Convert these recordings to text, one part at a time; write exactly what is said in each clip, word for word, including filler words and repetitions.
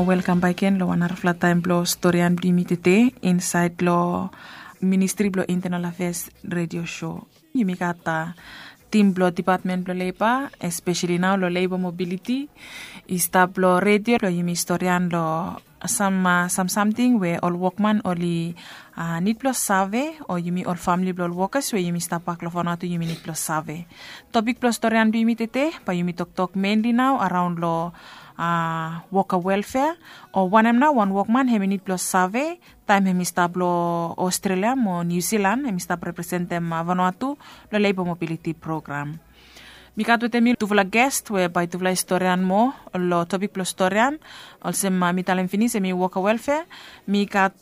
Welkam baik gen long wan narafala taem blong storian blong yumi tede insaed long Ministri blong Intenal Afeas redio sho. Yumi gat tim blong depatmen blong leba, espeseli nao long leba mobiliti, i stap long redio blong yumi storian long sam samsamting we ol wokman oli nid blong save, o yumi ol famili blong ol wokas we yumi stap bak long Vanuatu yumi nid blong save. Topik blong storian blong yumi tede bae yumi toktok menli nao araon long woka welfea, o wanem nao wan wokman hem i nid blong save taem hem i stap long Australia mo New Zealand hem i stap representem Vanuatu long leba mobiliti program. Mi gat wetem mi tufala gest we bae tufala i storian moa long topik blong storian. Olsem mi talem finis hem i woka welfea. Mi gat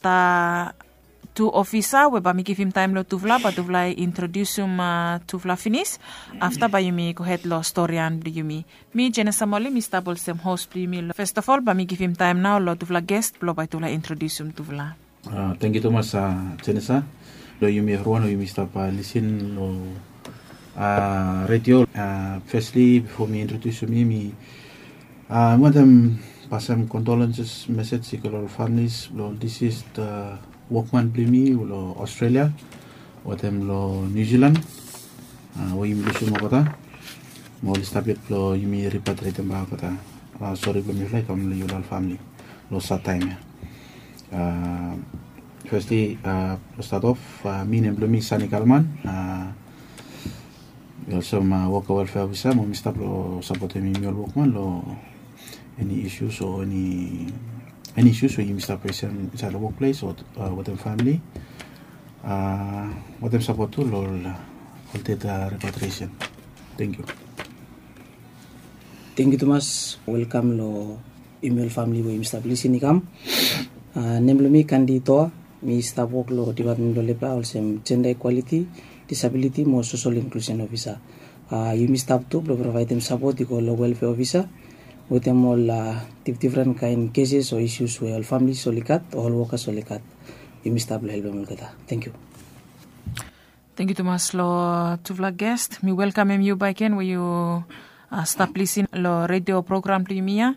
tu ofisa we bae mi givim taem long tufala bae tufala i introdiusim tufala finis. Afta bae yumi gohed long storian blong yumi. Mi Jenesa Moli mi stap olsem hos blong yumi. Festafol bae mi givim taem nao long tufala gest blong bae tufala i introdiusim tufala. Tangkiu tumas Jenesa. Long yumi evriwan we yumi stap lisin long redio, fesli bifo mi introdiusim mi, mi wantem pasem kondolenses mesej i go long ol familis blong ol disis wokman blong yumi long Australia wetem long New Zealand we yumi lusum olgeta. Mo oli stap yet blong yumi ripatriatem bak olgeta. Sori blong mifala i kam long yufala ol famili long sad taem ya. Fesli blong stat of, mi nem blong mi Sani Kalman. Mi olsem woka welfea ofisa mo mi stap long sapotem yumi ol wokman long eni isus o eni isus we yumi stap fesem insaed long wokples o wetem famili. Wetem sapot tu long ol ded repatriesen. Tangkiu. Tangkiu tumas. Welkam long yumi ol famili we yumi stap lisin i kam. Nem blong mi Kandi Toa. Mi stap wok long depatmen blong leba olsem jenda ikwaliti, disabiliti mo sosol inklusen ofisa. Yumi stap tu blong provaedem sapot i go long welfea ofisa wetem ol difdifren kaen keses o isus we ol familis oli gat o ol wokas oli gat. Yumi stap long helpem olgeta. Tangkiu. Tangkiu tumas long tufala gest. Mi welkamem yu baik gen we yu stap lisin long redio program blong yumi ya.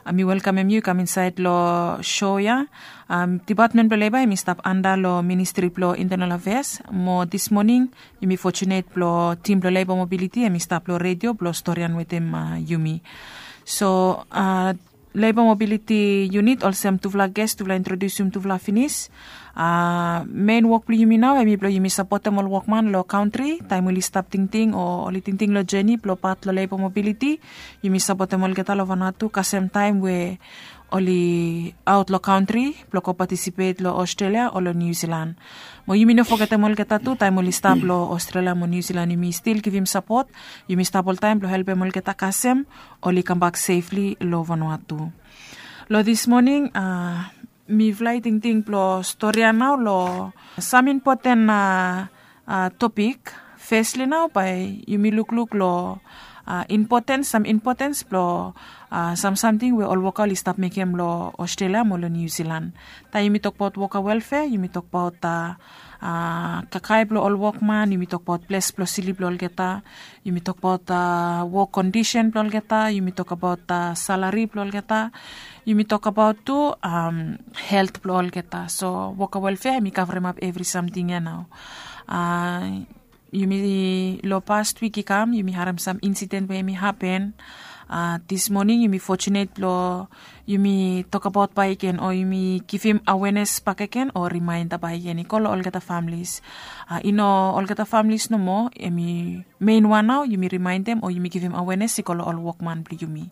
Mi welkamem yu i kam insaed long sho ya. Depatmen blong leba hem i stap anda long ministri blong intenal afeas mo dis moning yumi fotunet blong tim blong leba mobiliti hem i stap long redio blong storian wetem yumi. So leba mobiliti yunit olsem tufala ges tufala introdiusim tufala finis. Men wok blong yumi nao hem i blong yumi sapotem ol wokman long kantri taem oli stap tingting o oli tingting long jeni blong pat long leba mobiliti. Yumi sapotem olgeta long vanua tu kasem taem we oli aot long kantri blong go patisipet long Australia o long New Zealand. Mo yumi no fogetem olgeta tu taem oli stap long Australia mo New Zealand yumi stil givim sapot. Yumi stap oltaem blong helpem olgeta kasem oli kambak sefli long vanua tu. Long dis moning mifala i tingting blong storian nao long sam impoten topik. Fesli nao bae yumi lukluk long impotens sam impotens blong sam samting we ol woka oli stap mekem long Australia mo long New Zealand. Taem yumi tokbaot woka welfea yumi tokbaot kakae blong ol wokman yumi tokbaot ples blong slip blong olgeta. Yumi tokbaot wok kondisen blong olgeta yumi tokabaot salari blong olgeta. Yumi tokabaot tu helt blong olgeta so woka welfea hem i kavremap evri samting ya nao. Yumi long past wik i kam yumi harem sam insiden we hem i hapen. Dis moning yumi fotunet blong yumi tokabaot bakegen o yumi givim awenes bakegen o rimaenda bakegen i go long olgeta familis. I no olgeta familis nomo hem i mein wan nao yumi rimaendem o yumi givim awenes i go long ol wokman blong yumi.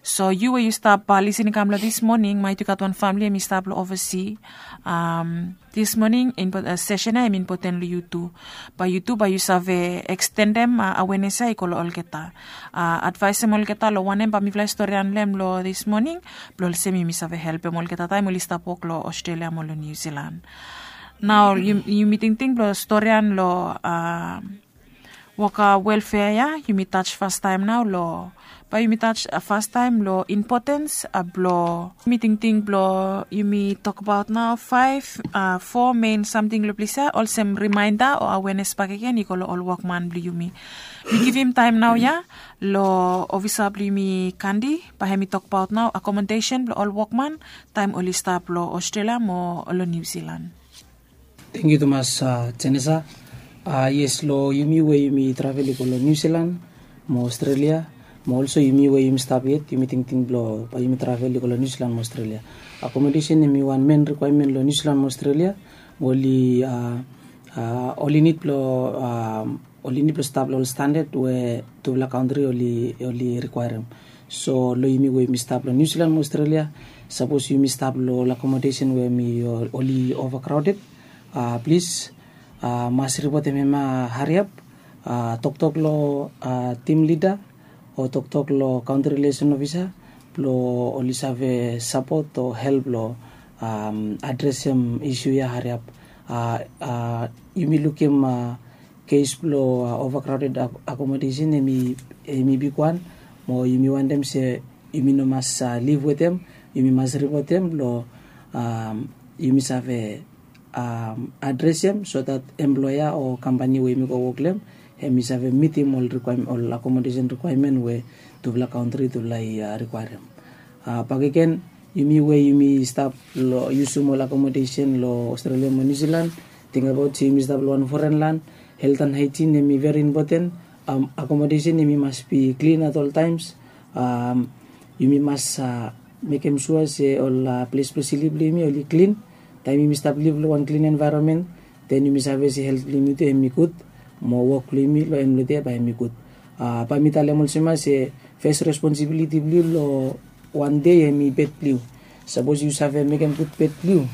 So yu we yu stap lisin i kam long dis moning maet yu gat wan famili hem i stap long ovasi. Dis moning sesen ya hem impoten long yu tu. Bae yu tu bae yu save ekstendem awenes ya i go long olgeta. Advaesem olgeta long wanem bae mifala i storian long hem long dis moning blong olsem yumi save helpem olgeta taem oli stap wok long Australia mo long New Zealand. Nao yumi tingting blong storian long Woka welfea ya yumi taj fastaem nao long, bae yumi taj fastaem long impotens blong yumi tingting blong yumi tokbaot nao faef, fo mein samting long ples ya olsem rimaenda o awenes bakegen i go long ol wokman blong yumi. Mi givim taem nao ya long ofisa blong yumi kandi, bae hem i tokbaot nao akomodesen blong ol wokman taem oli stap long australia mo long niu silan. Tengiu tumas, jenesa. Yes, long yumi we yumi travel i go long niu silan mo australia, mo olso yumi we yumi stap yet yumi tingting blong bae yumi travel i go long niu silan mo australia, akomodesen hem i wan men rikwaemen long niu silan mo australia. Oli oli nid blong oli nid blong stap long ol standad we tufala kantri oli rikwaerem. So long yumi we yumi stap long niu silan mo australia, sapos yumi stap long ol akomodesen we hem i oli ova kraoded, plis mas ripotem hem ya hariap. Toktok long tim lida o toktok long kantri rilesen ofisa blong oli save sapot o help long adresem isu ya hariap. Yumi lukim kes blong ova kraoded akomodesen hem i bigwan, mo yumi wantem se yumi no mas liv wetem, yumi mas ripotem blong yumi save adresem so dat emploea o kampani we yumi go wok long hem hem i save mitim ol akomodesen rikwaemen we tufala kantri tufala i rikwaerem. Bakegen, yumi we yumi stap long yusum ol akomodesen long australia mo niu silan, tingabaot se yumi stap long wan foren lan. Helt an haejin hem i veri impoten. Akomodesen hem i mas bi klin at ol taems. Yumi mas mekem sua se ol ples blong slip blong yumi oli klin. Taem yumi stap liv long wan klin envaeronmen, den yumi save se helt blong yumi tu hem i gud, mo wok blong yumi long en blong dei bae hem i gud. Bae mi talem olsem ya se fes responsibiliti blong yu long wan dei hem i bed blong yu. Sapos yu save mekem gud bed blong yu,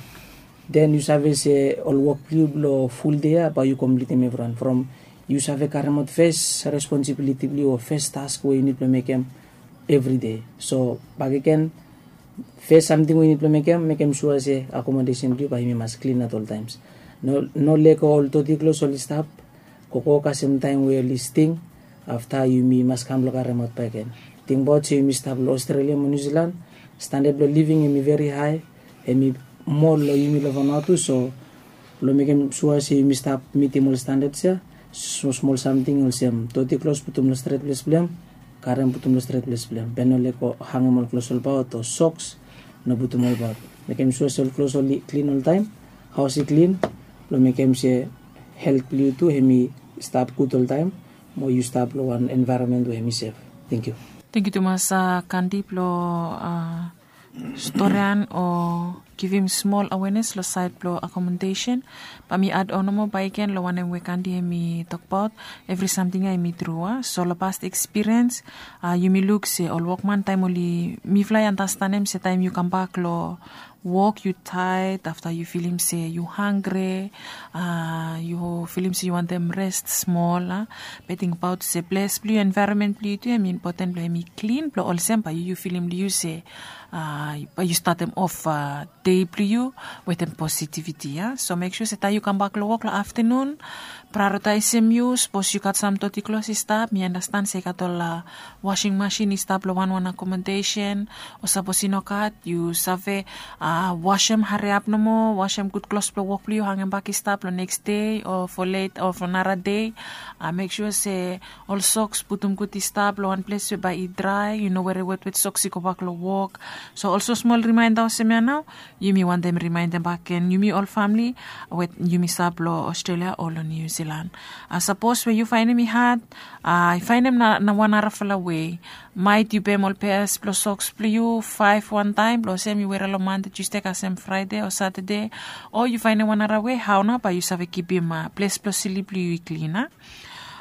den yu save se ol wok blong yu blong ful dei ya bae yu komplitim evriwan from yu save karemaot fes responsibiliti blong yu o fes task we yu nid blong mekem evri dei. So bakegen, fes samting we yu nid blong mekem, mekem sua se akomodesen blong yu bae yumi mas klin at ol taems. No lego ol toti klos oli stap gogo kasem taem we oli sting. Afta yumi mas kam blong karemaot bakegen. Tingbaot se yumi stap long australia mo niu silan, standad blong living hem i veri hae, hem i mol long yumi long vanua tu so blong mekem sua se yumi stap mitim ol standads ya, smolsmol samting olsem toti klos putum long stret ples blong hem, karem putum long stret ples blong hem be no lego hangem ol klos olbaot o soks, no putum olbaot. Mekem sua se ol klos oli klin oltaem, haos i klin, blong mekem se helt blong yu tu hem i stap gud oltaem, mo yu stap long wan envaeronmen we hem i sef. Tengiu. Tengiu tumas kandi blong storian o givim smol awenes long saed blong akomodesen. Bae mi ad on nomo bakegen long wanem we kandi hem i tokbaot, evri samting ya hem i tru a so long past ekspiriens, yumi luk se ol wokman taem oli mifala i anastanem se taem yu kambak long wok yu taet afta yu filim se yu hanggre, yu filim se yu wantem rest smol a. Be tingbaot se ples blong yu envaeronmen blong yu tu hem i impoten blong hem i klin blong olsem bae yu yu filim long yu se bae yu statem of dei blong yu wetem positiviti ya. So mek sua se taem yu kambak long wok long aftanun, praeoritaesem yu sapos yu gat sam toti klos i stap mi andastan se i gat ol wasing masin i stap long wanwan akomodesen, o sapos i no gat yu save wasem hariap nomo, wasem gud klos blong wok blong yu hangem bak i stap long neks dei o fo let o fo nara dei. Mek sua se ol soks putum gud i stap long wan ples we bae i drae, yu no were wetwet soks i gobak long wok. So olsem smol rimaenda olsem ya nao, yumi wantem rimaendem bak gen yumi ol famle we yumi stap long australia o long niu silan. Sapos we yu faenem i had, i faenem na wan narafala wei. Maet yu pem ol peas blong soks blong yu faef wantaem blong olsem yu were long mande tusde kasem fraede o satade, o yu faenem wan nara wei hao nao bae yu save kipim ples blong slip blong yu i klin a.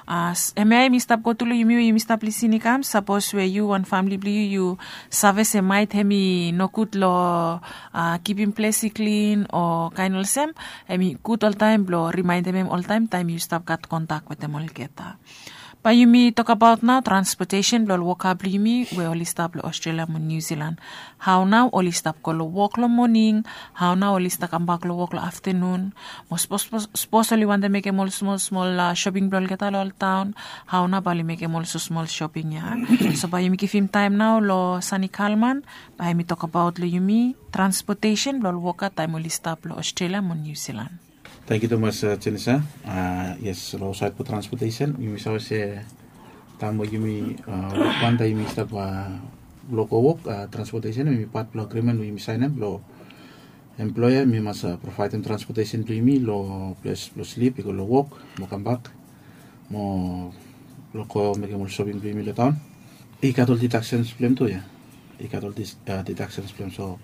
Hemia hem i stap go tu long yumi we yumi stap lisin i kam sapos we yu wan famle blong yu yu save se maet hem i nogud long kipim ples i klin o kaen olsem, hem i gud oltaem blong rimaendem hem oltaem taem yu stap gat kontak wetem olgeta. Bae yumi tokabaot nao transpotesen blong ol woka blong yumi we oli stap long Australia mo New Zealand. Hao nao oli stap go long wok long moning? Hao nao oli stap kambak long wok long aftenun? Mo sapos oli wantem mekem ol smol smol shoping blong olgeta long ol taon, hao nao bae oli mekem ol smol shoping ya? So bae yumi givim taem nao long Sani Kalman, bae hemi tokabaot long yumi transpotesen blong ol woka taem oli stap long Australia mo New Zealand. Tangkiu tumas, Jenisa. Yes, long saed blong transpotesen yumi save se taem we yumi wok wan taem yumi stap blong go wok, transpotesen hemi pat blong agrimen we yumi saenem blong emploea hemi mas provaedem transpotesen blong yumi long ples blong slip i go long wok mo kambak mo blong go mekem ol shoping blong yumi long taon. I gat ol didaksens blong hem tu ya. I gat ol didaksens blong hem. So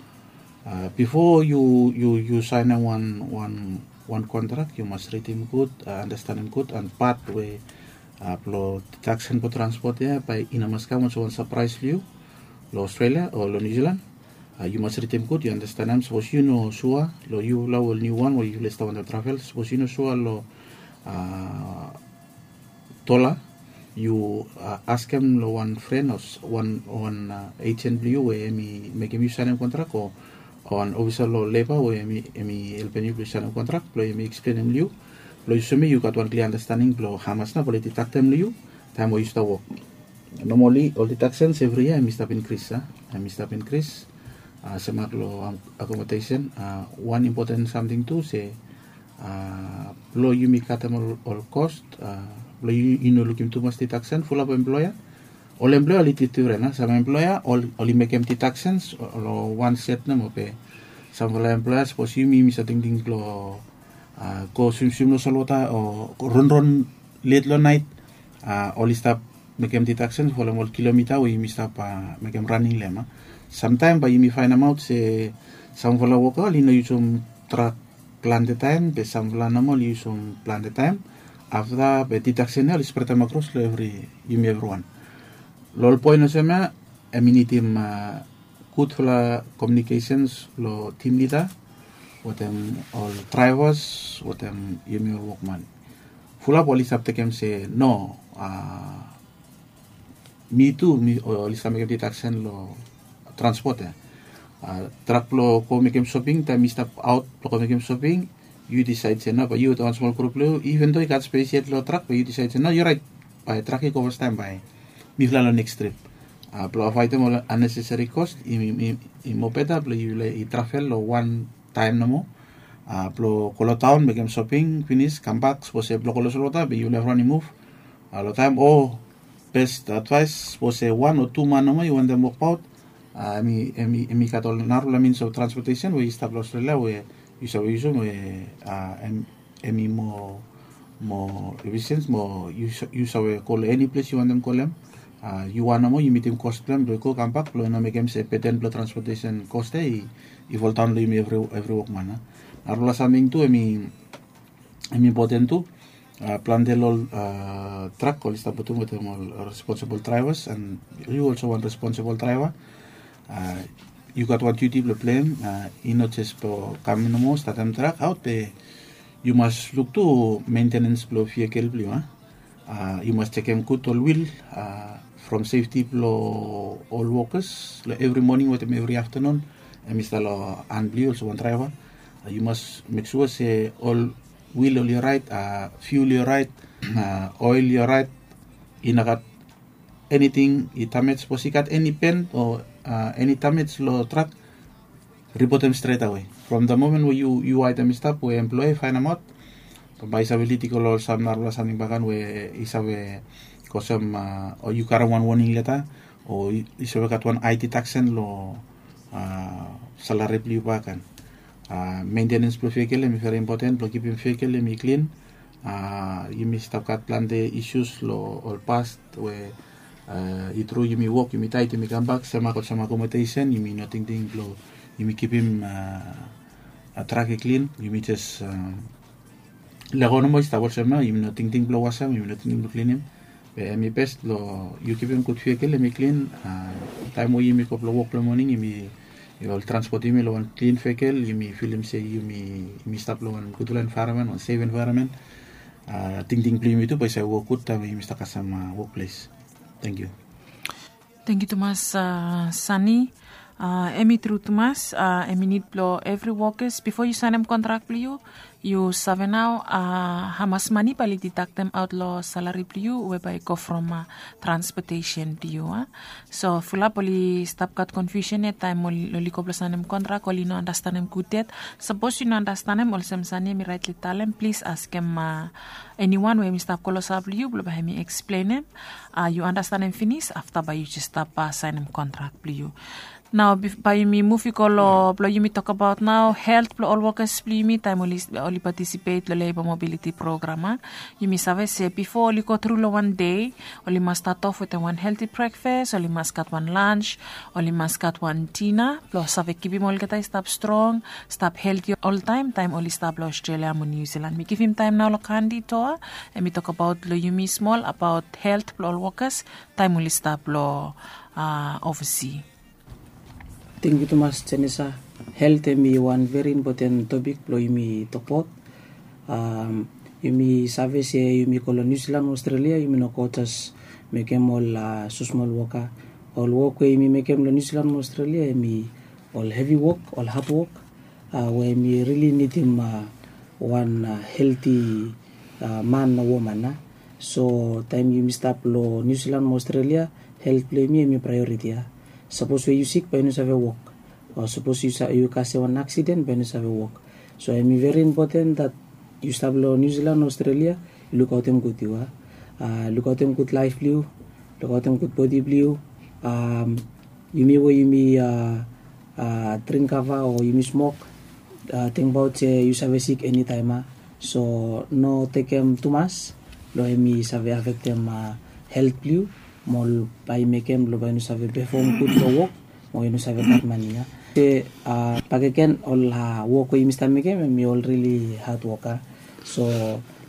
bifo yu saenem wan kontrak yu mas ridim gud, anastenem gud an pat we blong didaksen blong transpot ya bae i no mas kam olsem wan sapraes long yu long Australia o long New Zealand. Yu mas ridim gud, yu anastenem sapos yu no sua long yufala ol niu wan we yufala i stap wantaem travel, sapos yu no sua long dola, yu askem long wan fren o wan ejen blong yu we hemi mekem yu saenem kontrak o wan ofisa long leba we hemi helpem yu blong yu saenem kontrak blong hemi eksplenem long yu blong yu soem yu gat wan klia anastening blong hamas nao bae oli didaktem long yu taem we yu stap wok. Nomali ol didaksens evri yia hemi stap inkris a hemi stap inkris. Semak long akomodesen, wan impoten samting tu se blong yumi katem ol kos blong yu no lukim tumas didaksen fulap emploea. Ol emploea oli difdifren a sam emploea oli mekem didaksens long wan set nomo be samfala emploea sapos yumi yumi save tingting blong go swimswim long solwota o ronron let long naet, oli stap mekem didaksen folem ol kilomita we yumi stap mekem raning long hem a. Samtaem bae yumi faenemaot se samfala woka oli no yusum trak plante taem be samfala nomo oli yusum plante taem. Afta be didaksen ya oli spredem akros long evri yumi evriwan. Long ol poen olsem ya hemi nidim gudfala komiunikesens long tim lida wetem ol draevas wetem yumi ol wokman. Fulap oli stap tekem se no, mi tu oli stap mekem didaksen long transpot ya. Trak blong go mekem soping taem mi stap aot blong go mekem soping, yu disaed se no bae yu wetem wan smol grup blong yu iven do i gat spes yet long trak bae yu disaed se no yu raet, bae trak i go fastaem bae mifala long neks trip blong avaedem ol aneseseri kos. I mobeta blong yufala i travel long wan taem nomo blong go long taon mekem soping finis kambak sapos se blong go long solwota be yufala evriwan i muv long taem o bes advaes sapos se wan o tu man nomo i wantem wokbaot. Hemi gat ol narafala mins of transpotesen we i stap long Australia we yu save yusum we hemi moa efisens mo yu save go long eni ples yu wantem go long hem. Yu wan nomo yu mitim kos blong hem blong i go kambak blong i no mekem se beten blong transpotesen kos ya i foldaon long yumi evri wokman. Narafala samting tu hemi impoten tu. Plante long ol trak oli stap putum wetem ol responsibol draevas an yu olsem wan responsibol draeva yu gat wan diuti blong pleim. I no jes blong kam nomo statem trak aot be yu mas luk tu mentenens blong vikel blong yu a. Yu mas jekem gud ol wil from sefti blong ol wokas long evri moning wetem evri aftanun. Hemi stap long han blong yu olsem wan draeva. Yu mas mek sua se ol wil oli oraet, fiul i oraet, oel i oraet, i no gat eniting i damej sapos i gat eni pen o eni damej long trak, ripotem stretawe from da momen we yu waetem i stap we emploea i faenemaot. Bambae i save lid i go long ol sam narafala samting bakan we i save go olsem o yu karim wan woning leta o i save gat wan ae didaksen long salari blong yu bakan. Mentenens blong vekel hemi veri impoten blong kipim vekel hemi klin. Yumi stap gat plante isus long ol past we i tru yumi wok yumi taet yumi kambak semak olsem akomodesen yumi no tingting blong yumi kipim trak i klin yumi jes lego nomo i stap olsem nao yumi no tingting blong wasem yumi no tingting blong klinim. Be hemi bes blong yu kipim gud vekel hemi klin. Taem we yumi go blong wok long moning yumi ol transpot yumi long wan klin vekel yumi filim se yumi stap long wan gudfala envaeronmen wan sef envaeronmen. Tingting blong yumi tu bae i save wok gud taem we yumi stap kasem wokples. Tangkiu. Tangkiu tumas, Sani. Em i tru tumas, em i nid blong evri wokas bifo yu saenem kontrak blong yu, yu save nao hamas mani bae oli didaktem aot long salari blong yu we bae i go from transpotesen blong yu. So fulap oli stap gat konfiusen yet taem oli go blong saenem kontrak, oli no anastenem gud yet. Sapos yu no anastenem olsem Sani em i raetli talem, plis askem eniwan we em i stap klosap long yu blong bae hem i eksplenem. Yu anastenem finis, afta bae yu jes stap saenem kontrak blong yu. Nao bae yumi muv i go long blong yumi tokbaot nao helt blong ol wokas blong yumi taem oli patisipet long leba mobiliti program. Yumi save se bifo oli go tru long wan dei, oli mas stat of wetem wan helti brekfas, oli mas gat wan lans, oli mas gat wan dina blong save kipim olgeta i stap strong, stap helti oltaem taem oli stap long Australia mo New Zealand. Mi givim taem nao long Kandi Toa, em i tokbaot long yumi smol abaot helt blong ol wokas taem oli stap long ovasi. Tangkiu tumas, Jenisa. Helt em i wan veri impoten topik blong yumi tokbaot. Yumi save se yumi go long Niu Silan mo Australia, yumi no go jes mekem ol smosmol wok ya. Ol wok we yumi mekem long Niu Silan mo Australia em i ol hevi wok, ol had wok, we yumi rili nidim wan helti man o woman ya. So taem yumi stap long Niu Silan mo Australia, helt blong yumi em i praeoriti ya. Sapos we yu sik bae yu no save wok, o sapos yu kasem wan aksiden bae yu no save wok. So em i veri impoten dat yu stap long Niu Silan o Australia, yu lukaotem gud yu ya. Lukaotem gud laef blong yu, lukaotem gud bodi blong yu. Yumi we yumi dring kava o yumi smok, tingbaot se yu save sik enitaem ya. So no tekem tumas, long em i save afektem helt blong yu, mo bae i mekem long bae yu no save pefom gud long wok, mo yu no save gat mani ya. Se bakegen ol wok we yumi stap mekem em i ol rili had wok ya. So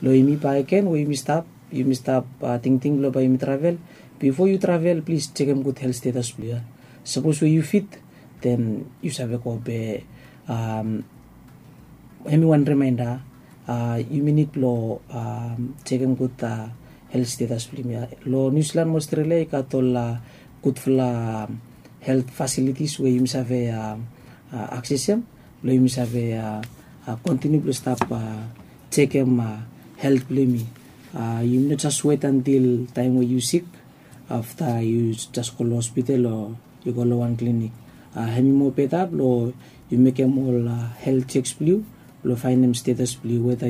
long yumi bakegen we yumi stap, yumi stap tingting blong bae yumi travel. Bifo yu travel, plis jekem gud helt stetas blong yu ya. Sapos we yu fit, den yu save go be. Em i wan rimaenda, yumi nid blong jekem gud helt stetas blong yumi ya. Long Niu Silan mo Australia i gat ol gudfala helt fasilitis we yumi save aksesem blong yumi save kontiniu blong stap jekem helt blong yumi. Yumi no jes wet antil taem we yu sik, afta yu jes go long hospital o yu go long wan klinik. Em i moa beta blong yu mekem ol helt jeks blong yu blong faenem stetas blong yu, weta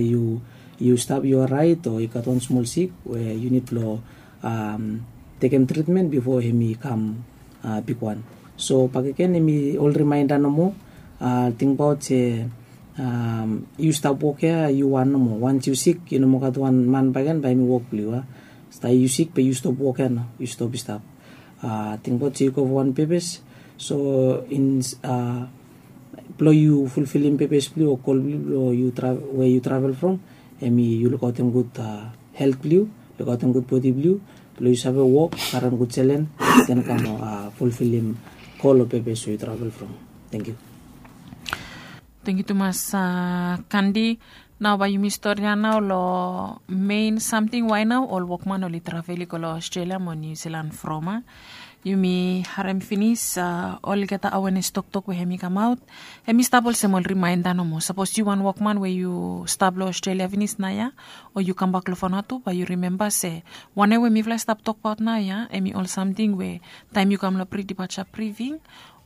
yu stap yu oraet o i gat wan smol sik we yu nid blong tekem tritmen bifo em i kam bigwan. So bakegen em i ol rimaenda nomo. Tingbaot se yu stap wok ya yu wan nomo. Wans yu sik, yu no moa gat wan man bakegen bae em i wok blong yu ya. Afta yu sik be yu stop wok ya nao, yu stop i stap. Tingbaot se yu go wan pepes. So blong yu fulfilim pepes blong yu o gol blong yu blong we yu travel from, em i yu lukaotem gud helt blong yu, lukaotem gud bodi blong yu, blong yu save wok, karem gud selen, den kam fulfilim gol o pepes we yu travel from. Tangkiu. Tangkiu tumas, Kandi. Nao bae yumi storian nao long mein samting wae nao ol wokman oli travel i go long Australia mo Niu Silan from ya. Yumi harem finis olgeta awenes toktok we hem i kamaot. Hem i stap olsem ol rimaenda nomo. Sapos yu wan wokman we yu stap long Australia finis naoia, o yu kambak long Vanuatu, bae yu rimemba se wanem we mifala i stap tokbaot naoia hem i ol samting we taem yu kam long pre-departure briefing,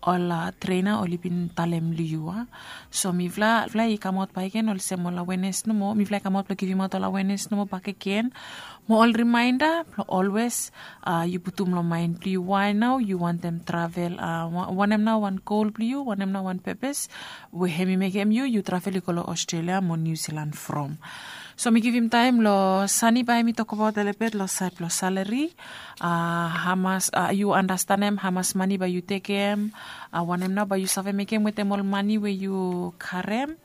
ol trena oli bin talem long yu a. So mifala i kamaot bakegen olsem ol awenes nomo, mifala i kamaot blong givimaot ol awenes nomo bakegen. Mo ol rimaenda blong olwes yu putum long maen blong yu wae nao yu wantem travel, wanem nao wan gol blong yu, wanem nao wan pepes we hem i mekem yu yu travel i go long Australia mo Niu Silan from. So mi givim taem long Sani bae hem i tokbaot olebet long saed blong salari. Hamas yu anastenem, hamas mani bae yu tekem, wanem nao bae yu save mekem wetem ol mani we yu karem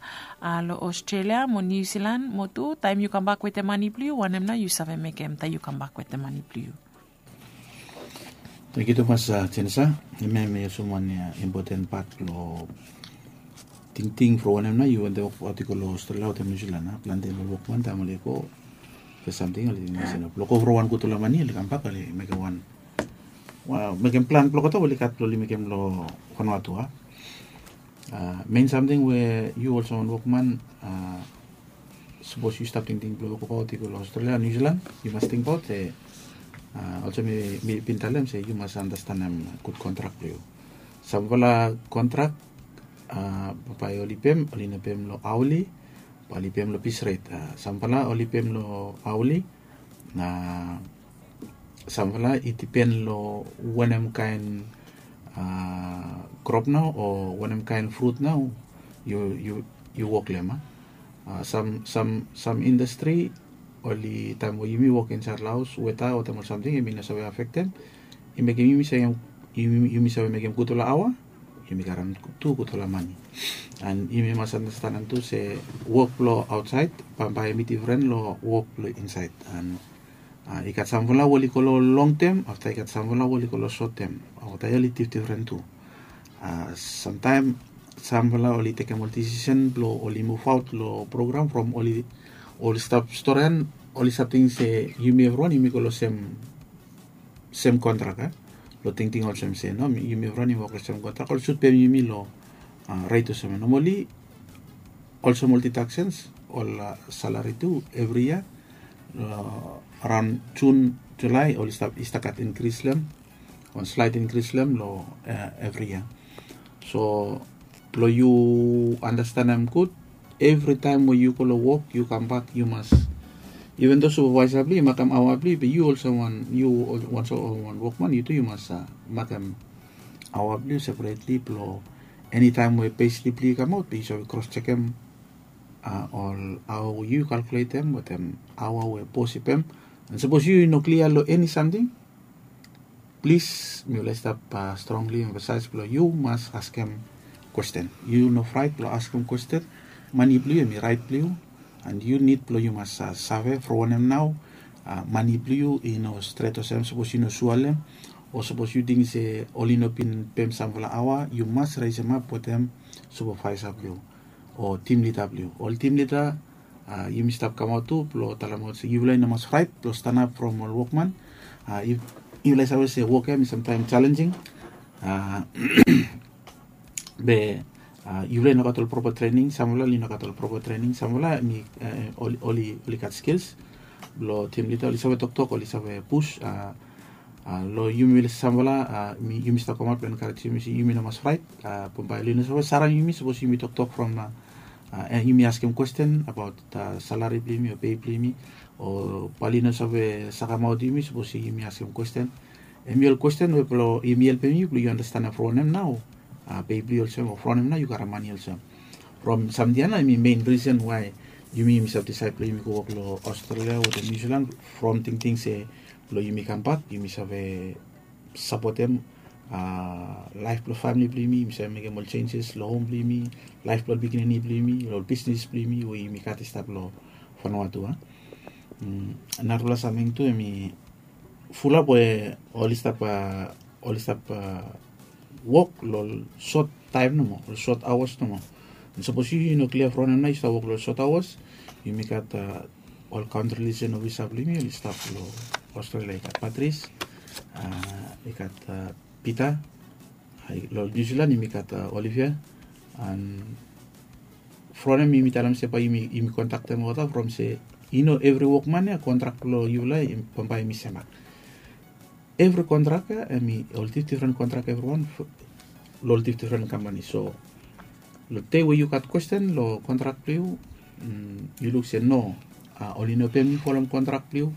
long Australia mo Niu Silan, mo tu taem yu kambak wetem mani blong yu, wanem nao yu save mekem taem yu kambak wetem mani blong yu. Tangkiu tumas, Jenisa. Hemia hem i olsem wan impoten pat blong tingting from wanem nao yu wantem wokbaot i go long Australia wetem Niu Silan. Plante ol wokman taem oli go, Samting oli ting se no blong go from wan gutpela mani oli kambak oli mekem wan, mekem plan blong olgeta oli gat blong oli mekem long Vanuatu. A, mein samting we yu olsem wan wokman, a, sapos yu stap tingting blong wokabaut i go long Australia, New Zealand, yu mas tingbaut se, a, olsem mi bin talem se yu mas andastanem gud kontrak blong yu. Sampela kontrak, a, bae oli pem oli no pem long aoli, bae oli pem long pis ret. A, sampela oli pem long aoli. Na sampela i dipen long wanem kain, a, krop nao o wanem kain frut nao yu wok long em. A, sam indastri oli taem we yumi wok insaed long haos weta o taem ol samting em i no save afektem, i mekem yumi save mekem gudfala aoa, yumi karem tu gudfala mani. An yumi mas anastenem tu se wok blong aotsaed bambae em i difren long wok blong insaed. An i gat samfala we oli go long longtem, afta i gat samfala we oli go long sotem. Olgeta ya oli difdifren tu. Samtaem samfala oli tekem ol disisen blong oli muvaot long program from oli stap storian, oli stap ting se yumi evriwan yumi go long sem sem kontrak ya. Long tingting olsem se no yumi evriwan yumi wok long sem kontrak, oli sut pem yumi long ret olsem ya. Nomali olsem ol didaksens, ol salari tu evri yia long araon Jun, Julai oli stap i stap gat inkris long em, wan slaet inkris long em long evri yia. So blong yu anastenem gud, evritaem we yu go long wok yu kambak yu mas, iven do supevaesa blong yu i makem aoa blong yu, be yu olsem wan yu wan so wan wokman yu tu yu mas makem aoa blong yu separetli blong enitaem we peslip blong yu i kamaot be yu save kros jekem ol aoa we yu kalkuletem wetem aoa we bos i pem. An sapos yu i no klia long eni samting, plis mi ol i stap strongli emfasaes blong yu mas askem kwesten. Yu no fraet blong askem kwesten. Mani blong yu em i raet blong yu, an yu nid blong yu mas save from wanem nao mani blong yu i no stret olsem sapos yu no sua long em, o sapos yu ting se oli no bin pem samfala aoa, yu mas resemap wetem supevaesa blong yu o tim lida blong yu. Ol tim lida, yumi stap kamaot tu blong talemaot se yufala i no mas fraet blong stanap from ol wokman. Yufala i save se wok ya em i samtaem jalenjing, be yufala i no gat ol propa trening, samfala oli no gat ol propa trening, samfala em i oli gat skils. Blong tim lida oli save toktok, oli save pus. Long yumi samfala yumi stap kamaot blong enkarejem yumi se yumi no mas fraet. Bambae oli no save sarem yumi sapos yumi toktok from na yumi askem kwesten abaot salari blong yumi o pei blong yumi, o bae oli no save sakamaot yumi sapos yumi askem kwesten. Em i ol kwesten we blong yumi helpem yu blong yu anastenem from wanem nao pei blong yu olsem o from wanem nao yu karem mani olsem. From samting ya nao em i mein risen wae yumi yumi stap disaed blong yumi go wok long Australia wetem Niu Silan, from tingting se blong yumi kambak yumi save sapotem laef blong famili blong yumi, yumi save mekem ol jenjes long hom blong yumi, laef blong ol pikinini blong yumi, long ol bisnis blong yumi we yumi gat i stap long Vanuatu. Narafala samting tu em i fulap we oli stap oli stap wok long ol sot taem nomo, ol sot aoas nomo. Sapos yu i no klia from wanem nao yu stap wok long ol sot aoas. Yumi gat ol kaontri liaesen ofisa blong yumi oli stap long Australia, i gat Patris, i gat Pita. Long Niu Silan yumi gat Olivia. An from wanem yumi talem se bae yumi kontaktem olgeta from se i no evri wokman ya kontrak blong yufala bambae em i semak. Evri kontrak ya em i ol difdifren kontrak evriwan long ol difdifren kampani. So long dei we yu gat kwesten long kontrak blong yu, yu luk se no, oli no pem yu folem kontrak blong yu,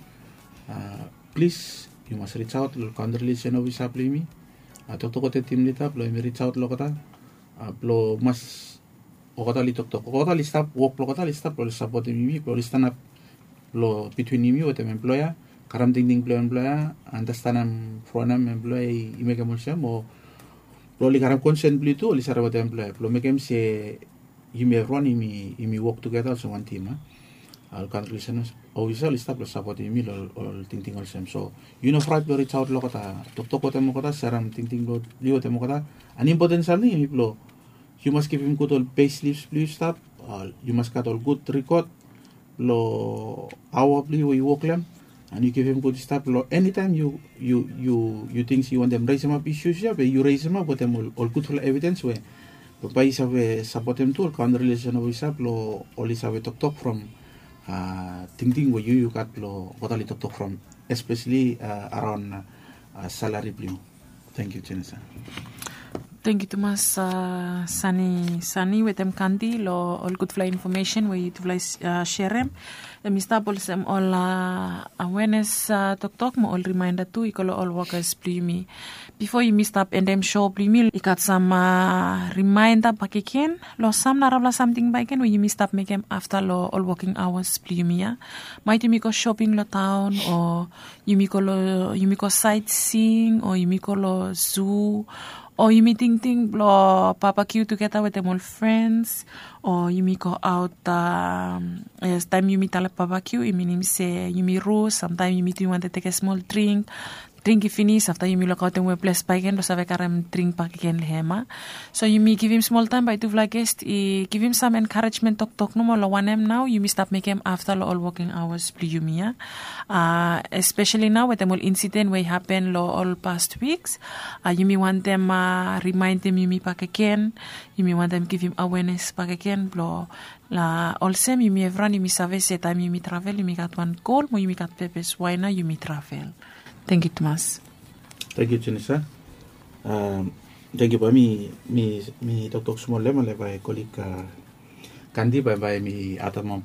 plis yu mas risaot long kaontri liaesen ofisa blong yumi. Toktok wetem tim lida blong yumi risaot long olgeta blong mas olgeta oli toktok, olgeta oli stap, wok blong olgeta oli stap blong oli sapotem yumi blong oli stanap blong bitwin yumi wetem emploea, karem tingting blong emploea, anastenem from wanem emploea i mekem olsem, o blong oli karem konsen blong yu tu oli save wetem emploea blong mekem se yumi evriwan yumi wok tugeta olsem wan tim. Ol kaontri liaesen ofisa oli stap blong sapotem yumi long ol tingting olsem. So yu no fraet blong risaot long olgeta, toktok wetem olgeta, serem tingting blong yu wetem olgeta. An impoten samting em i blong yu mas givim gud ol pei slips blong yu stap, yu mas gat ol gud rikot. long aoa blong yu we yu wok long hem. And yu givim gud stap long enitaem yu yu yu yu ting se yu wantem resemap isus ya be yu resemap wetem ol gudfala evidens we bae i save sapotem tu ol kaon rilesen of i sap long ol i save toktok from tingting we yu yu gat long watali toktok from, espeseli araon salari blong yu. Tengkiu jenisa. Tengkiu tumas sani sani wetem kandi long ol gudfala infomesen we yutufala i serem. Em i stap olsem ol awenes toktok mo ol rimaenda tu i go long ol wokas blong yumi. Bifo yumi stap endem so blong yumi i gat sam rimaenda bakegen long sam narafala samting bakegen we yumi stap mekem afta long ol woking awas blong yumi ya. Maet yumi go shoping long taon o yumi go long yumi go saetsing o yumi go long zu o yumi tingting blong babakiu tugeta wetem ol frens o yumi go aot. Taem yumi talem babakiu i minim se yumi rus samtaem yumi tu i wantem tekem smol dring. Dring i finis afta yumi lukaotem we ples bakegen blong save karem dring bakegen long hem a. So yumi givim smol taem bae tufala ges i givim sam enkarejmen toktok nomo long wanem nao yumi stap mekem afta long ol woking awas blong yumi ya. Espeseli nao wetem ol insiden we i hapen long ol past wiks, yumi wantem rimaendem yumi bakegen. Yumi wantem givim awenes bakegen blong olsem yumi evriwan yumi save se taem yumi travel yumi gat wan gol mo yumi gat pepes wae nao yumi travel. Tengkiu tumas. Tengkiu jenisa. Tengkiu bae mi mi toktok smol long hem ale bae kolik kandi bae bae mi ademap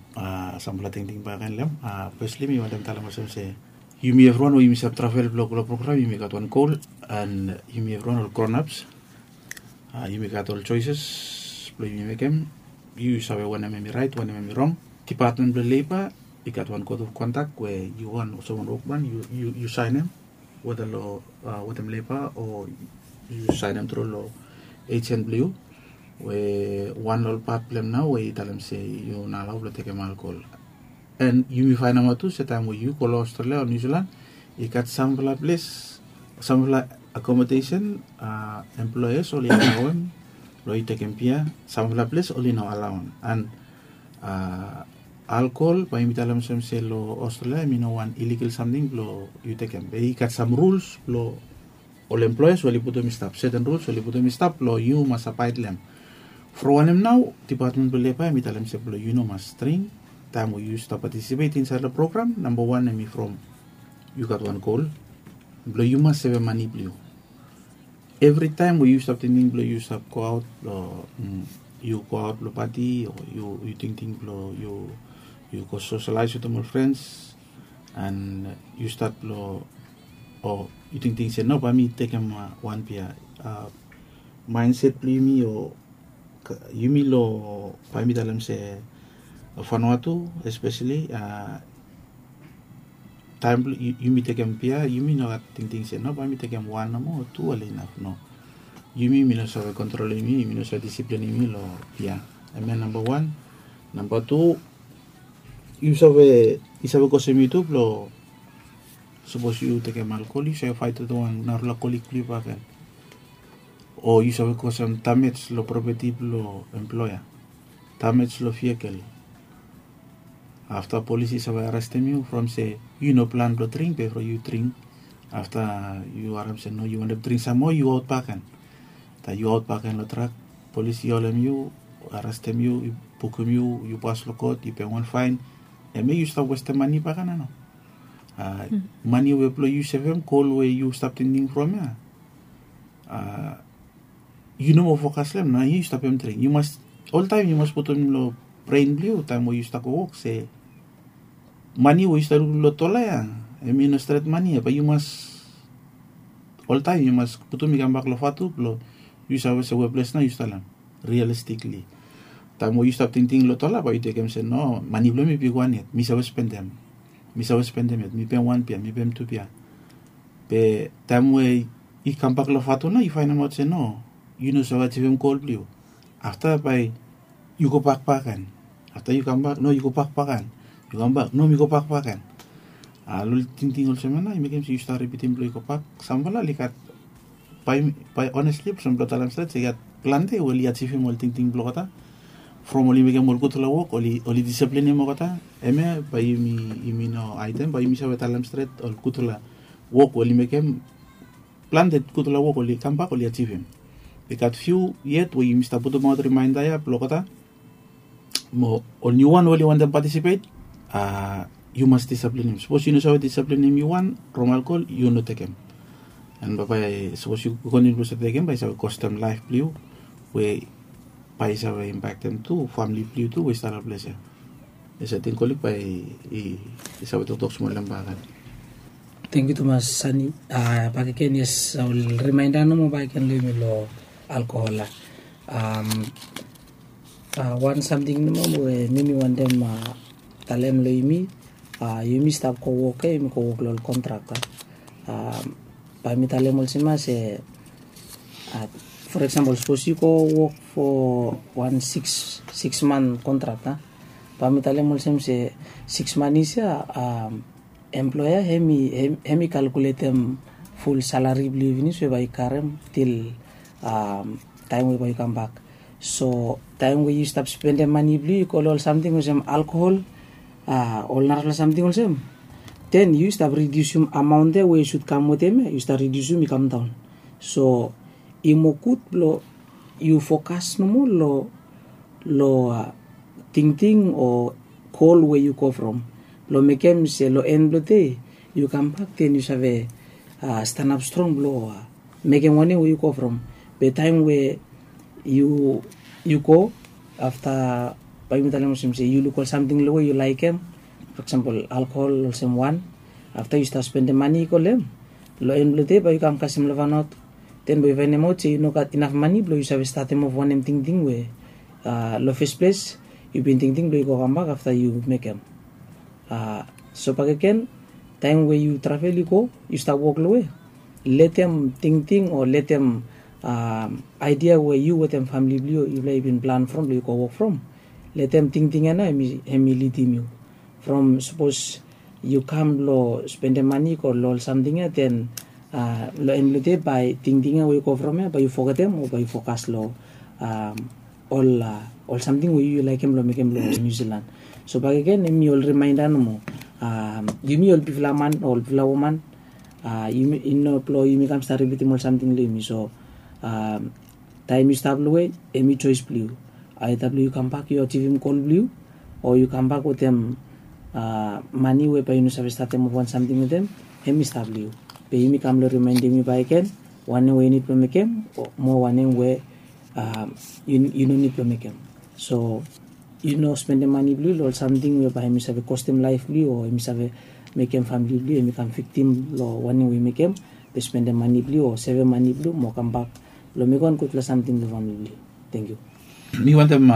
samfala tingting bakegen long hem. Fesli mi wantem talem olsem se yumi evriwan we yumi save travel blong go long program yumi gat wan gol. And yumi evriwan ol gronaps yumi gat ol joeses blong yumi mekem. Yu save wanem em i raet wanem em i rong. Dipatmen blong leba i gat wan kot of kontak we yu wan olsem wan wokman yu saenem weda long wetem leba o yu saenem tru long ejen blong yu. We wan long ol pat blong hem nao we i talem se yu no alao blong tekem alkol. And yumi faenemaot tu se taem we yu go long australia o niusilan i gat samfala ples samfala akomodesen employers oli alaoem blong yu tekem bia. Samfala ples oli no alaoem and alkol bae yumi talem olsem se long australia em i no wan iligal samting blong yu tekem be i gat sam ruls blong ol employers we oli putum i stap seten ruls we oli putum i stap blong yu mas abaed long hem. From wanem nao dipatmen blong leba em i talem se blong yu no mas dring taem we yu stap patisipet insaed long program namba wan em i from yu gat wan gol blong yu mas sevem mane blong yu. Evritaem we yu stap tingting blong yu stap goaot long yu goaot long pati o yu tingting blong yu yu go soselaes wetem ol frens and yu stat blong o yu tingting se no bae mi tekem wan bia. Maenset blong yumi o yumi long bae mi talem se fanua tu espeseli taem blong yumi tekem bia yumi no gat tingting se no bae mi tekem wan nomo o tu ale inaf no. Yumi mi no save kontrol yumi yumi no save disiplin yumi long bia. Em ya namba wan. Namba tu yu save i save kosem yu tu blong sapos yu tekem alkol yu save faet wetem wan narafala kolik blong yu baken o yu save kosem damej long propeti blong emploea, damej long vikel. Afta polis i save arestem yu from se yu no plan blong dring befo yu dring. Afta yu harem se no yu wantem dring sam moa yu aot baken. Taem yu aot baken long trak polis i holem yu, arestem yu, i bukim yu, yu pas long kot yu pem wan faen. Em ya yu stap westem mane baken a no? Mane we blong yu sevem gol we yu stap tingting from ya yu no moa fokas long em nao yu stap em dring yu mas oltaem yu mas putum long bren blong yu taem we yu stap go wok se mane we yu stap lukluk long dola ya em i no stret mane ya bae yu mas oltaem yu mas putum i kambak long fatu blong yu save se weples nao yu stap long em. Rialistikli taem we yu stap tingting long dola bae yu tekem se no mane blong em i bigwan yet mi save spendem. Mi save spendem yet mi pem wan bia mi pem tu bia. Be taem we i kambak long fatu nao yu faenemaot se no yu no save ajivim gol blong yu. Afta bae yu go bak baken. Afta yu kambak no yu go bak baken. Yu kambak no mi go bak baken. A long ol tingting olsem ya nao i mekem se yu stap ripitim blong yu go bak. Samfala oli gat bae onesli olsem blong talem stret se i gat plante we oli ajivim ol tingting blong olgeta. from oli mekem ol gudfala wok oli disiplinim olgeta. Hemia bae yumi no aidem, bae yumi save talem stret ol gudfala wok oli mekem. Plante gudfala wok oli kambak oli ajivim. I gat fiu yet we yumi stap putumaot rimainda ya blong olgeta. Mo ol niuwan we oli wantem patisipet, a yu mas disiplinim. Sapos yu no save disiplinim yu wan from alkol, yu no tekem. An bambae sapos yu kontiniu blong save tekem, bae i save kostem laef blong yu, we bae i save impaktem tu famili blong yu tu we i stap long ples ya. Yes, ating kolik bae i save toktok smol long bak. Tengkiu tumas, Sani. Bakegen, yes, ol rimainda nomo bakegen long yumi long alkohol ya. Wan samting nomo we mi mi wantem talem long yumi, yumi stap go wok ya, yumi go wok long ol kontrak ya. Bae mi talem olsem ya se, for eksempel, sapos yu go wok fo wan siks man kontrak ya, bae mi talem olsem se siks man isi ya, employa hem i kalkuletem ful salari blong yu finis we bae yu karem til taem we bae yu kambak. So taem we yu stap spendem mane blong yu i go long ol samting olsem alkohol, ol narafala samting olsem, den yu stap ridiusim amaon ya we yu sud kam wetem ya, yu stap ridiusim i kamdaon. So i moa gud blong yu fokas nomo long long tingting o gol we yu go from, blong mekem se long en blong dei yu kambak, den yu save stanap strong blong mekem wanem we yu go from. Be taem we yu go, afta bae yumi talem olsem se yu luk ol samting long we yu laekem, for eksempel alkohol olsem wan. Afta yu stap spendem mane i go long hem, long en blong dei bae yu kam kasem long fanaot, den bae yu faenemaot se yu no gat inaf mane blong yu save statem of wanem tingting we long fes ples yu bin tingting blong yu go kambak afta yu mekem. So bakegen, taem we yu travel i go, yu stap wok long we, letem tingting o letem aidia we yu wetem famili blong yu, yufala i bin plan from blong yu go wok from, letem tingting ya nao hem i lidim yu. From sapos yu kam blong spendem mane i go long ol samting ya, den long en blong dei bae tingting ya we yu go from ya bae yu fogetem o bae yu fokas long ol ol samting we yu laekem blong mekem long Niu Silan. So bakegen, hemi ol rimainda nomo. Yumi ol bigfala man o ol bigfala woman, i no blong yumi kam stap ripitim ol samting long yumi. So taem yu stap long we, hemi joes blong yu. Aeda blong yu kambak yu ajivim gol blong yu, o yu kambak wetem mane we bae yu no save statem of wan samting wetem, hemi stap long yu. Be yumi kam long rimaendem yu bakegen wanem we yu nid blong mekem mo wanem we yu no nid blong mekem. So yu no spendem mane blong yu long ol samting we bae hemi save kostem laef blong yu o hemi save mekem famili blong yu hemi kam viktim long wanem we yu mekem. Be spendem mane blong yu o sevem mane blong yu mo kambak blong mekem wan gudfala samting long famili blong yu. Tengkiu. Mi wantem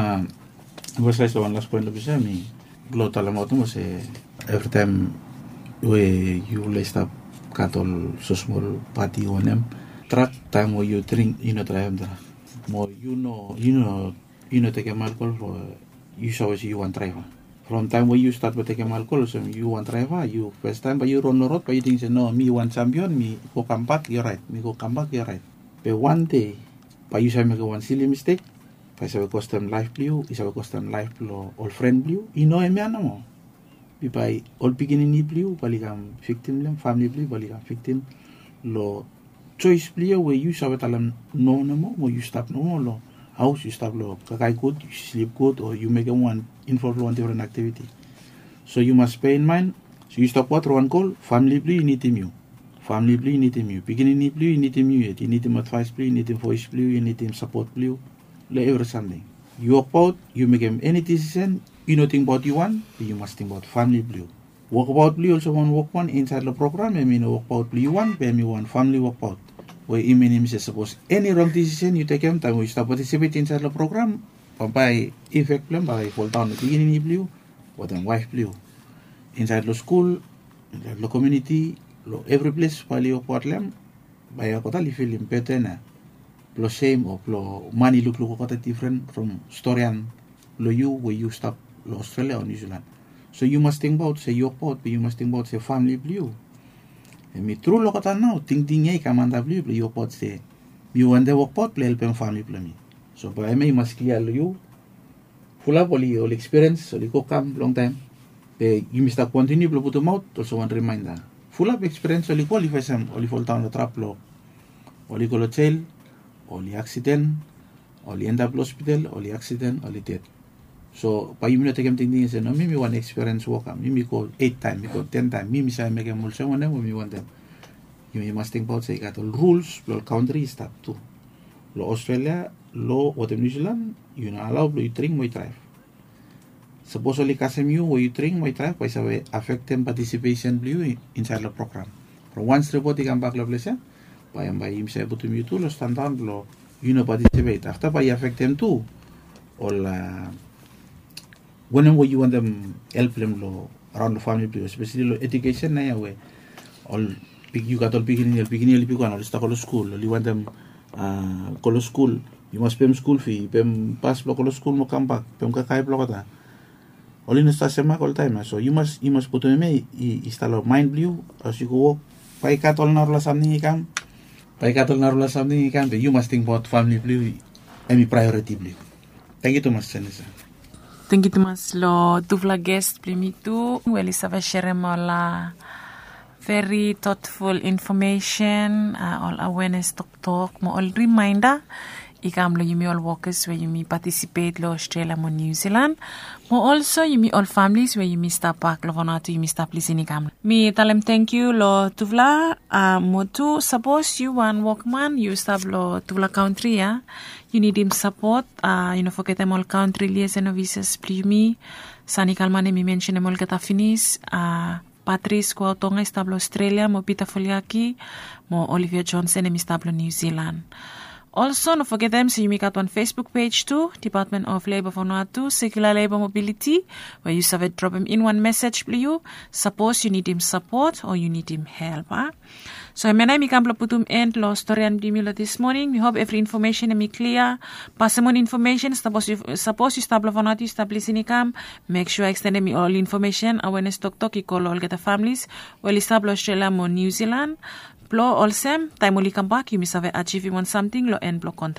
emfasaes long wan las poen long ples ya, mi blong talemaot nomo se evritaem we yufala i stap gat ol smosmol pati o wanem, drak, taem we yu dring, yu no draevem drak. Mo yu no yu no yu no tekem alkol fo yu save se yu wan draeva. From taem we yu stat blong tekem alkol olsem yu wan draeva, yu fastaem bae yu ron long rod bae yu ting se no, mi wan jampion, mi go kambak i oraet, mi go kambak i oraet. Be wan dei bae yu save mekem wan sili mistek, bae i save kostem laef blong yu, i save kostem laef blong ol fren blong yu. I no hemia nomo. Be bae ol pikinini blong yu bae oli kam viktim long hem, famili blong yu bae oli kam viktim long joes blong yu we yu save talem no nomo mo yu stap nomo long haos, yu stap long kakae gud, yu slip gud o yu mekem wan involv long wan difren aktiviti. So yu mas peinmaen, so yu stap gat wan gol, famili blong yu i nidim yu. Famili blong yu i nidim yu, pikinini blong yu i nidim yu yet, i nidim advaes blong yu, i nidim voes blong yu, i nidim sapot blong yu long evri samting. Yu wokbaot, yu mekem eni disisen, yu no tingbaot yu wan, be yu mas tingbaot famili blong yu. Wokbaot blong yu olsem wan wokwan insaed long program, hemi no wokbaot blong yu wan, be hemi wan famili wokbaot. We i minim se sapos eni rong disisen yu tekem taem we yu stap patisipet insaed long program, bambae ifek blong hem bae i foldaon long pikinini blong yu wetem waef blong yu. Insaed long skul, insaed long komuniti, long evri ples bae oli wokbaot long hem, bae olgeta oli filim beten ya blong sem o blong man i lukluk olgeta difren from storian blong yu we yu stap long Australia o Niu Silan. So yu mas tingbaot se yu wokbaot, be yu mas tingbaot se famili blong yu. Hemi tru long olgeta nao tingting ya i kam antap long yu blong yu wokbaot se mi wantem wokbaot blong helpem famili blong mi. So bae hemia i mas klia long yu Fulap oli oli ekspiriens oli go kam longtaem. Be yumi stap kontiniu blong putumaot olsem wan rimainda. Fulap ekspiriens oli go oli fesem oli foldaon long trap blong oli go long jel, oli aksiden, oli endap long hospital, oli aksiden, oli ded. So bae yumi no tekem tingting se no mi mi wan ekspiriens woka mi mi go eit taem mi go ten taem mi mi save mekem olsem wanem we mi wantem. Yumi mas tingbaot se i gat ol ruls blong ol kantri i stap tu. Long australia, long watem niu silan, yu no alao blong yu dring mo yu draev. Sapos oli kasem yu we yu dring mo yu draev bae i save afektem patisipesen blong yu insaed long program. From wans ripot i kambak long ples ya, bae em bae yumi save putum yu tu long standaon blong yu no patisipet afta bae i afektem tu ol wanem we yu wantem help blong em long raon long famili blong yu espesali long edukesen na ya we ol yu gat ol pikinini ol pikinini ol i bigwan ol i stap go long skul ol i wantem go long skul. Yu mas pem skul fi pem pas blong go long skul mo kambak pem kakae blong olgeta. Oli no stap semak oltaem ya so yu mas yu mas putum em ya i stap long maen blong yu. As yu go wok, bae i gat ol narafala samting i kam. Bae i gat ol narafala samting i kam be yu mas tingbaot famili blong yu. Em i praeoriti blong yu. Tangkiu tumas, senisa. Tangkiu tumas long tufala ges blong yumi tu we oli save serem ol veri totful infomesen, ol awenes toktok mo ol rimainda i kam long yumi ol wokas we yumi patisipet long australia mo niu silan, mo olso yumi ol familis we yumi stap bak long vanatu yumi stap lisin i kam. Mi talem tangkiu long tufala. Mo tu sapos yu wan wokman yu stap long tufala kantri ya, yu nidim sapot. Yu no fogetem ol kantri liasen ofisas blong yumi. Sani kalman em i mensenem olgeta finis. Patris kuautonga i stap long australia mo pita foliaki mo olivia johnson em i stap long niu silan. Olso no fogetem se yumi gat wan facebook pej tu, department of leba vanuatu sekula leba mobiliti, we yu save dropem in wan mesej blong yu sapos yu nidim sapot o yu nidim help a. So em ya nao yumi kam blong putum en long storian blong yumi long dismoning mi hop evri infomesen em i klia. Pasemon infomesen sapos yu stap long vanuatu yu stap lisin i kam, mek sua ekstendem ol infomesen awenes toktok i go long olgeta familis we oli stap long australia mo niu silan, blong olsem taem oli kambak yumi save ajivim wan samting long en blong kontrak.